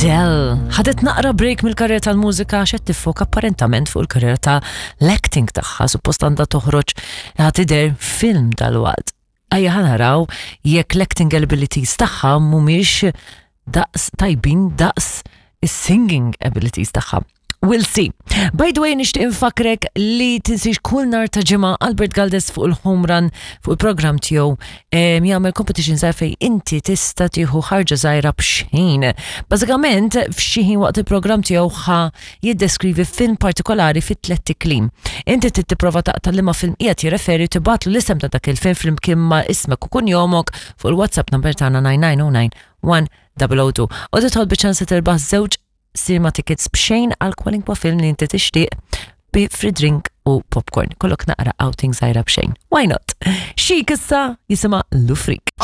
Adele ħadet naqra break mill-karriera tal-mużika għax qed tiffoka apparentament fuq il-karriera ta' l-acting tagħha, suppost għandha toħroġ ħa tidher film dalwaqt. Ejja ħa naraw jekk l-acting abilities tagħha mhumiex daqs tajbin daqs is-singing abilities tagħha. We'll see. By the way, nixtieq infakrek li tinsiex kull nar ta' ġimgħa Albert Galdes fuq il-home run fuq il-programm tiegħu jagħmel competition żgħir fejn inti tista' tieħu ħarġa żgħira b'xejn. Bażikament f'xi ħin waqt il-programm tiegħu ħa jiddeskrivi film partikolari fit tlett iklim. Inti trid tipprova taqta' liema film qiegħed jirreferi u tibgħatlu l-isem ta' dak il-film flimkien ma' ismek u kunjomok fuq il-WhatsApp number tagħna 9909 1002. U tidħol biċ-ċans li tirbaħ żewġ cinema tickets b'xejn għal kwalinkwa film li inti tixtieq bi free drink u popcorn. Kollok naqra outing żgħira b'xejn. Why not? Xik issa jisimha Lufrik.